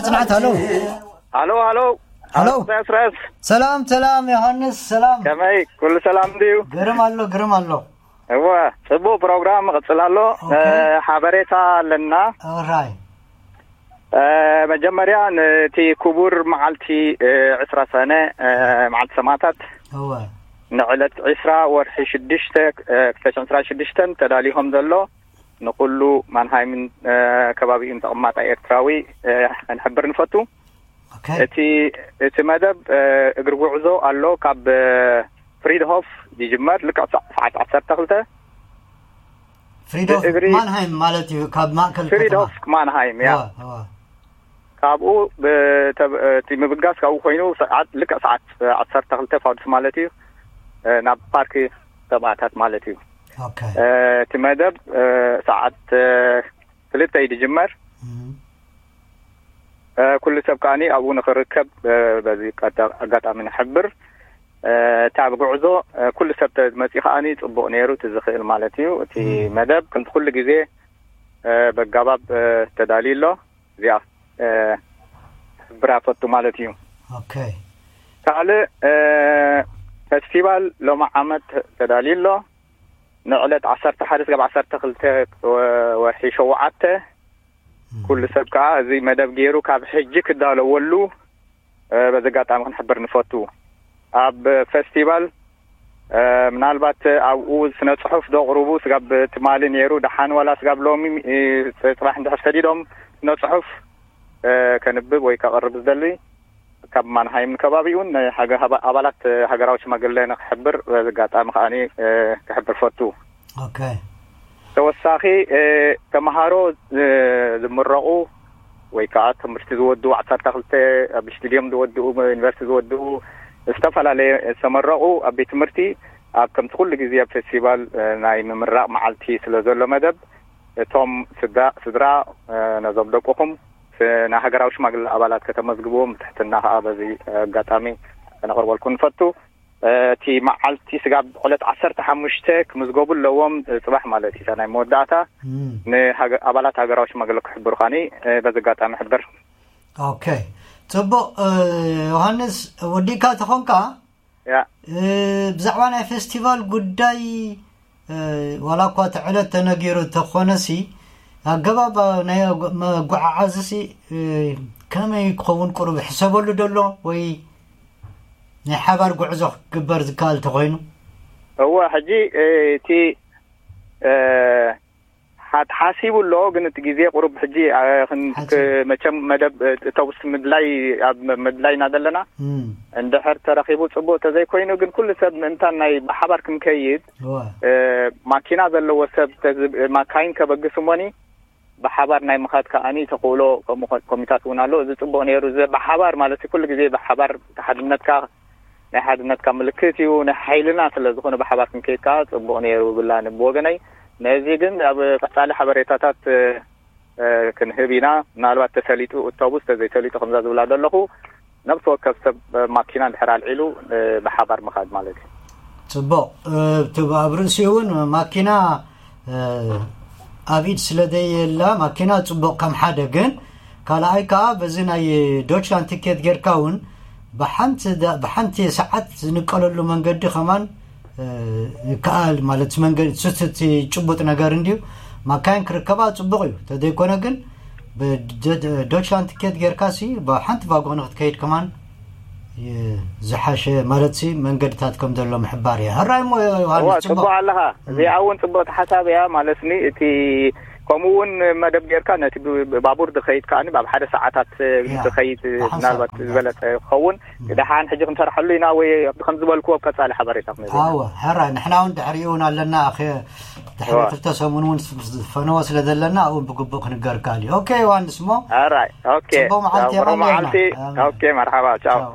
ጽናት፣ ሃሎ። ሃሎ፣ ሃሎ። ሃሎ። ሃሎ፣ ኢሳያስ ረስ። ሰላም፣ ሰላም፣ ዮሃንስ፣ ሰላም። ከመይ? ኩሉ ሰላም ድዩ? ግርም ኣሎ፣ ግርም ኣሎ። እወ፣ ጽቡቕ ፕሮግራም ይቕጽል ኣሎ። ኦኬ። እ፣ ሓበሬታ ኣለና። ኦራይ። እ፣ መጀመርያ ነቲ ክቡር መዓልቲ፣ እ፣ ዕስራ ሰነ፣ እ፣ መዓልቲ ሰማእታት፣ እወ። ንዕለት ዕስራ ወርሒ ሽዱሽተ፣ እ፣ ክልተ ሽሕን ዕስራን ሽዱሽተን ተዳልዩ ከም ዘሎ ንኹሉ ማንሃይምን፣ እ፣ ከባቢኡን ተቐማጣይ ኤርትራዊ፣ እ፣ ከንሕብር ንፈቱ። ኦኬ። እቲ፣ እቲ መደብ፣ እ፣ እግሪ ጉዕዞ ኣሎ። ካብ፣ እ፣ ፍሪድሆፍ ይጅመር፣ ልክዕ ሰ-፣ ሰዓት ዓሰርተ ክልተ። ፍሪድሆፍ ብእግሪ ማንሃይም ማለት እዩ፣ ካብ ማእከል ፍሪድሆፍ ከተማ። ማንሃይም፣ ያ። እዋ፣ እዋ። ካብኡ ብተ-፣ እቲ ምብጋስ ካብኡ ኮይኑ ሰዓት፣ ልክዕ ሰዓት ዓሰርተ ክልተ ፋዱስ ማለት እዩ፣ እ፣ ናብ ፓርክ ሰማእታት ማለት እዩ። ኦኬ። እ፣ እቲ መደብ፣ እ፣ ሰዓት፣ እ፣ ክልተ እዩ ዝጅመር። እም። እ፣ ኩሉ ሰብ ከኣኒ ኣብኡ ንኽርከብ፣ እ፣ በዚ ቀዳ-፣ ኣጋጣሚ ንሕብር። እ፣ እቲ ኣብ ጉዕዞ፣ እ፣ ኩሉ ሰብ ተመጺኡ ከኣኒ ጽቡቕ ነይሩ፣ እቲ ዝኽእል ማለት እዩ። እቲ እም። መደብ ከምቲ ኩሉ ግዜ፣ እ፣ በጋባብ፣ እ፣ ተዳልዩ ኣሎ። እዚኣ፣ እ፣ ክሕብራ ፈቱ ማለት እዩ። ኦኬ። ካልእ፣ እ፣ ፈስቲቫል ሎሚ ዓመት ተዳልዩ ኣሎ። ንዕለት ዓሰርተ ሓደ ስጋብ ዓሰርተ ክልተ ወ-፣ ወርሒ ሸውዓተ። እም። ኩሉ ሰብ ከኣ እዚ መደብ ገይሩ ካብ ሕጂ ክዳለወሉ፣ እ፣ በዚ ኣጋጣሚ ክንሕብር ንፈቱ። ኣብ ፈስቲቫል፣ እ፣ ምናልባት ኣብኡ ስነ ጽሑፍ ዘቕርቡ ስጋብ ትማሊ ነይሩ፣ ደሓን ዋላ ስጋብ ሎሚ፣ እ፣ ጽባሕ እንድሕር ሰዲዶም ስነ ጽሑፍ፣ እ፣ ከንብብ ወይ ከቕርብ ዝደሊ ካብ ማንሃይም ከባቢኡን ናይ ሃገ-፣ ሃባ-፣ ኣባላት ሃገራዊ ሽማግለ ንክሕብር በዚ ኣጋጣሚ ከኣኒ፣ እ፣ ክሕብር ፈቱ። ኦኬ። ተወሳኺ፣ እ፣ ተምሃሮ፣ እ፣ ዝምረቑ ወይ ከዓ ትምህርቲ ዝወድኡ፣ ዓሰርተ ክልተ ኣብ ስቱድዮም ዝወድኡ፣ ዩኒቨርሲቲ ዝወድኡ፣ ዝተፈላለየ ዝተመረቑ ኣብ ቤት ትምህርቲ ኣብ ከምቲ ኩሉ ግዜ ኣብ ፌስቲቫል፣ እ፣ ናይ ምምራቕ መዓልቲ ስለ ዘሎ መደብ እቶም ስዳ-፣ ስድራ፣ እ፣ ነዞም ደቅኹም ስ-፣ ናይ ሃገራዊ ሽማግለ ኣባላት ከተመዝግብዎም ብትሕትና ከዓ በዚ ኣጋጣሚ ከነቕርበልኩም ንፈቱ። እ፣ እቲ መዓልቲ ስጋብ ዕለት ዓሰርተ ሓሙሽተ ክምዝገቡ ኣለዎም፣ እ፣ ጽባሕ ማለት እዩ፣ እታ ናይ መወዳእታ እም። ንሃገ-፣ ኣባላት ሃገራዊ ሽማግለ ክሕብሩ ከኣኒ፣ እ፣ በዚ ኣጋጣሚ ሕብር። ኦኬ፣ ጽቡቕ። እ፣ ዮሃንስ፣ ወዲእካ ተኾንካ፣ ያ። እ፣ ብዛዕባ ናይ ፌስቲቫል ጉዳይ፣ እ፣ ዋላ እኳ እቲ ዕለት ተነጊሩ ተኾነሲ፣ ኣገባብ ናይ መጓዓዓዝሲ፣ እ፣ ከመይ ክኸውን ቁሩብ ሕሰበሉ ደሎ ወይ ናይ ሓባር ጉዕዞ ክግበር ዝከኣል ተኾይኑ? እወ፣ ሕጂ፣ እ፣ እቲ፣ እ፣ ሓ-፣ ተሓሲቡ ኣሎ፣ ግን እቲ ግዜ ቁሩብ ሕጂ፣ እ፣ ክን-፣ ሓጺር። ክ-፣ መቸም መደብ፣ እ፣ እተውስ ምድላይ፣ ኣብ መ-፣ ምድላይ ኢና ዘለና። እም። እንድሕር ተረኺቡ ጽቡቕ ተዘይኮይኑ፣ ግን ኩሉ ሰብ ምእንታን ናይ ብሓባር ክንከይድ፣ እወ። እ፣ ማኪና ዘለዎ ሰብ ተዝብ-፣ ማካይን ከበግስ እሞኒ፣ ብሓባር ናይ ምኻድ ከኣኒ ተኽእሎ ከምኡ ኮ-፣ ኮሚታት እውን ኣሎ። እዚ ጽቡቕ ነይሩ። እዚ ብሓባር ማለት ኩሉ ግዜ ብሓባር እቲ ሓድነትካ ናይ ሓድነትካ ምልክት እዩ። ናይ ሓይልና ስለ ዝኾነ ብሓባር ክንከይድ ከኣ ጽቡቕ ነይሩ ይብላኒ ብወገነይ። ነዚ ግን ኣብ ቀጻሊ ሓበሬታታት፣ እ፣ እ፣ ክንህብ ኢና። ምናልባት ተሰሊጡ እቶቡስ ተዘይሰሊጡ ከምዛ ዝብላ ዘለኹ ነብሲ ወከፍ ሰብ ማኪና እንድሕር ኣልዒሉ፣ እ፣ ብሓባር ምኻድ ማለት እዩ። ጽቡቕ። እ፣ እቲ ኣብ ርእሲኡ እውን ማኪና፣ እ፣ ኣብ ኢድ ስለ ዘየላ ማኪና ጽቡቕ ከም ሓደ፣ ግን ካልኣይ ከኣ በዚ ናይ ዶችላንድ ቲኬት ጌርካ እውን ብሓንቲ ዳ-፣ ብሓንቲ ሰዓት ዝንቀለሉ መንገዲ ከማን፣ እ፣ ይከኣል ማለት መንገዲ፣ እቲ ጭቡጥ ነገር እንድዩ። ማካይን ክርከባ ጽቡቕ እዩ። ተዘይኮነ ግን ብደ-፣ ዶችላንድ ቲኬት ጌርካሲ ብሓንቲ ቫጎ ንክትከይድ ከማን ይ-፣ ዝሓሸ ማለትሲ መንገድታት ከም ዘሎ ምሕባር እያ። ሕራይ እሞ ዮሃንስ፣ እዋ፣ ጽቡቕ። ጽቡቕ ኣለኻ። እም። እዚኣ እውን ጽቡቕቲ ሓሳብ እያ። ማለትኒ እቲ ከምኡ እውን መደብ ጌርካ ነቲ ብ-፣ ብባቡር ዝኸይድ ከኣ ኣብ ሓደ ሰዓታት ያ፣ ዝኸይድ ብሓንሳብ ምናልባት ከምዛ ዝበለጸ ክኸውን። እም። ደሓን ሕጂ ክንሰርሐሉ ኢና ወይ ኣብቲ ከም ዝበልክዎ ኣብ ቀጻሊ ሓበሬታ ክንህብ ኢና። ኣወ፣ ሕራይ፣ ንሕና እውን ድሕሪኡ እውን ኣለና። ኣኸ-፣ ድሕሪ እዋ። ክልተ ሰሙን እውን ስ-፣ ስ-፣ ዝፈነወ ስለ ዘለና ኣብኡ እውን ብግቡእ ክንገር ከኣል እዩ። ኦኬ፣ ዮሃንስ እሞ። ኣራይ፣ ኦኬ። ጽቡቕ መዓልቲ ጽቡቕ የቐንየልና። መዓልቲ። ኣሜን። ኦኬ፣ መርሓባ፣ ቻው። ቻው።